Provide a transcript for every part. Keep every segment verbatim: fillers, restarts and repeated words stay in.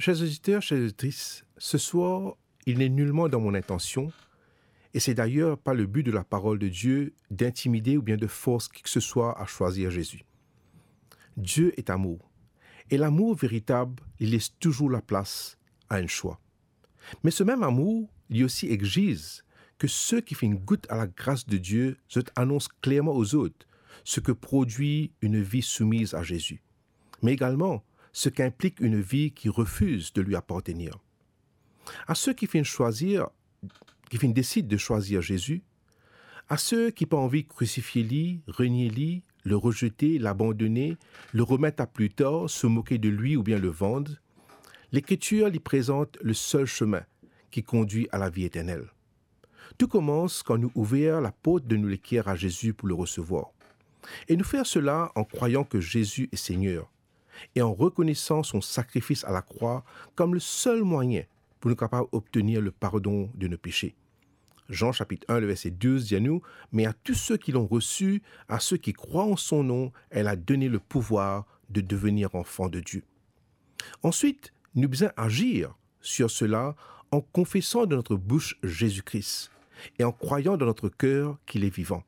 Chers auditeurs, chères auditrices, ce soir, il n'est nullement dans mon intention, et c'est d'ailleurs pas le but de la parole de Dieu, d'intimidé ou bien de forcer qui que ce soit à choisir Jésus. Dieu est amour, et l'amour véritable, il laisse toujours la place à un choix. Me semem amour, li osi exiz ki seki finn gout a lagras de Die, zot anons klerman lezot seki prodwi enn vi soumiz a Zezi, me egalman seki inplik enn vi ki refiz de li apartenir. A seki finn swazir, ki finn desid de swazir Zezi, a seki pa anvi krisifie li, renie li, le rezete, labandone, le remet a pli tar, se moke de li oubien le vann, Lekritir li prezant le sel semin ki kondwi a lavi eternel. Tou koumans kan nou ouver laport de nou leker a Zezi pou le resevwar. E nou fer sela an krwayan ki Zezi e Segner e an rekonesan so sakrifis a lakrwa kom le sel mwayin pou nou kapav obtenir le pardon de nou pese. Jean chapitre un, le verset douze dir nou, "Mais à tous ceux qui l'ont reçu, à ceux qui croient en son nom, elle a donné le pouvoir de devenir enfants de Dieu." Answit, nou bizin azir sir sela an konfesan de nou bous Zezi Kri e an krwayan dan nou ker ki li vivan.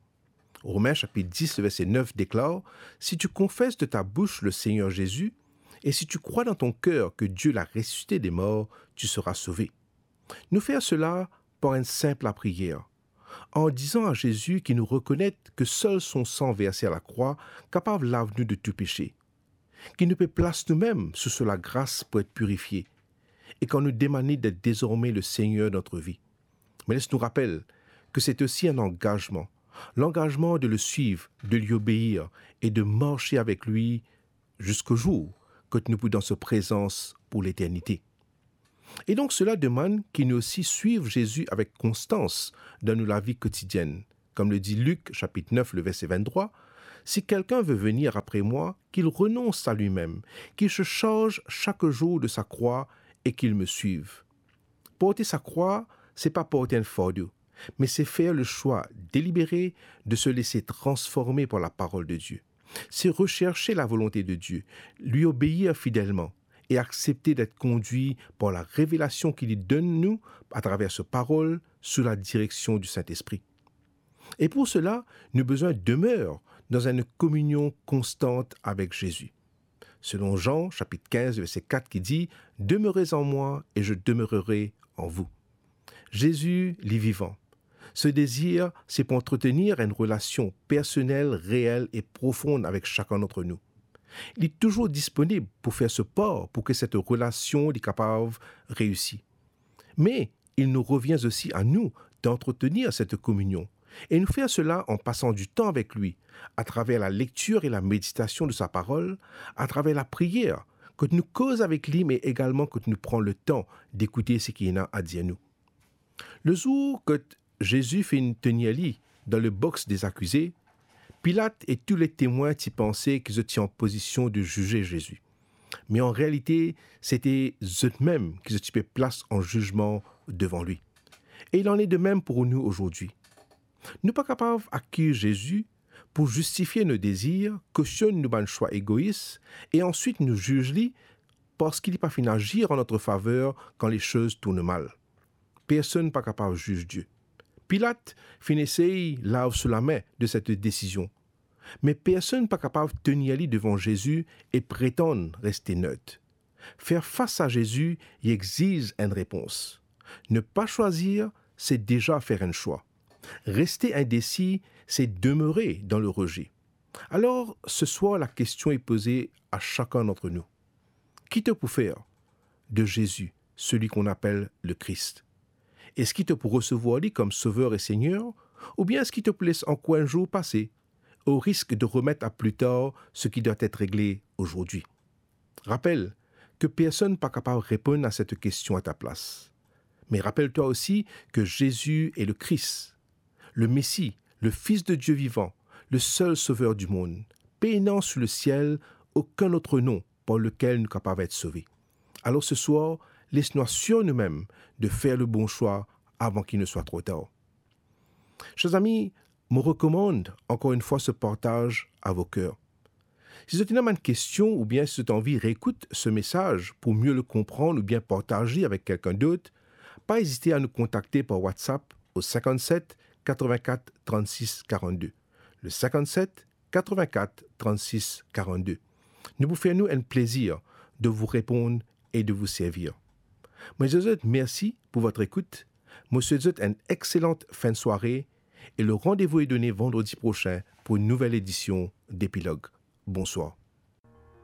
Romin chapitre dix, le verset neuf deklar, "Si tu confesses de ta bouche le Seigneur Jésus, et si tu crois dans ton cœur que Dieu l'a ressuscité des morts, tu seras sauvé." Nou fer sela par enn sinp lapriyer, an dizan a Zezi ki nou rekonet ki sel so san verse a lakrwa kapav lav nou de tou pese, ki nou pe plas noumem sou so lagras pou et pirifie, e kan nou demann li d'et dezorme le Segner dan nou vi. Me les nou rapel ki se osi enn angazman, langazman de le swiv, de li obeir e de marse avek li ziska zour kot nou pou dan so prezans pou leternite. E donk sela demann ki nou osi swiv Zezi avek konstans dan nou lavi kotidienn. Kom le di Lik, chapitre neuf, le verset vingt-trois, "Si quelqu'un veut venir après moi, qu'il renonce à lui-même, qu'il se charge chaque jour de sa croix et qu'il me suive." Porte sa krwa, se pa porte enn fardo, me se fer le swa delibere de se lese transforme par laparol de Die. Se reserse lavolonte de Die, li obeir fidelman e aksepte d'et kondwi par larevelasion ki li donn nou atraver so parol, sou ladireksion di Sintespri. E pou sela, nou bizin demer dan enn kominion konstan avek Zezi. Selon Jean, chapitre quinze, verset quatre, ki dir, "Demeurez en moi et je demeurerai en vous." Zezi, li vivan. So dezir, se pou antretenir enn relasion personel, reel e profonn avek sakenn d'ant nou. Li touzour disponib pou fer so par pou ki set relasion li kapav reisi. Me, il nous revient aussi à nous d'entretenir cette communion. E nou fer sela an pasan ditan avek li, atraver lalektir e lameditasion de sa parol, atraver lapriyer, kot nou koz avek li, me egalman kot nou pran letan dekoute seki li ena a dir nou. Lezour kot Zezi finn tenir li dan le box des accusés, Pilat e tou letemwin ti panse ki zot ti an pozision de zize Zezi. Me an realite, sete zotmem ki zot ti pe plas an zizman devan li. E il en est de même pour nous aujourd'hui. Nou pa kapav akiz Zezi pou zistifie nou dezir, kosionn nou bann swa egois, e answit nou ziz li parski li pa finn azir an nou faver kan lesoz tourn mal. Personn pa kapav ziz Die. Pilat finn esey lav so lame de set desizion, me personn pa kapav tenir li devan Zezi e pretann reste net. Fer fas a Zezi, li exiz enn repons. Ne pas choisir, se deza fer enn swa. Reste indesi, se demere dan le reze. Alor, se swar, lakestion est posée à chacun d'entre nous. Ki to pou fer de Zezi, celui qu'on appelle le Christ? Eski to pou resevwar li kom Sover e Segner, oubien eski to pou les ankor enn zour pase, o risk de remet a pli tar seki dwa et regle azordi? Rapel ki personn pa kapav reponn a set kestion a ta plas. Me rapel twa osi ki Zezi est le Christ, le Messie, le Fils de Dieu vivant, le seul Sauveur du monde. Pena sou lesiel okenn lot nom par lekel nou kapav et sove. Alor se swar, les nou asir noumem de fer le bon swa avan ki ne swa tro tar. Chers amis, mo rekomann ankor enn fwa se partaz a vo ker. Si zot ena bann kestion oubien si zot anvi reekout se mesaz pou mie le konprann oubien partaz li avek kelkenn dot, pa ezite a nou kontakte par WhatsApp au cinquante-sept quatre-vingt-quatre trente-six quarante-deux. Le cinquante-sept quatre-vingt-quatre trente-six quarante-deux. Nou pou fer nou enn plezir de vous répondre et de vous servir. Mo dir zot mersi pou votre écoute. Mo swet zot enn exselante fin de soirée et le rendez-vous est donné vendredi prochain pour une nouvelle édition d'Epilogue. Bonsoir.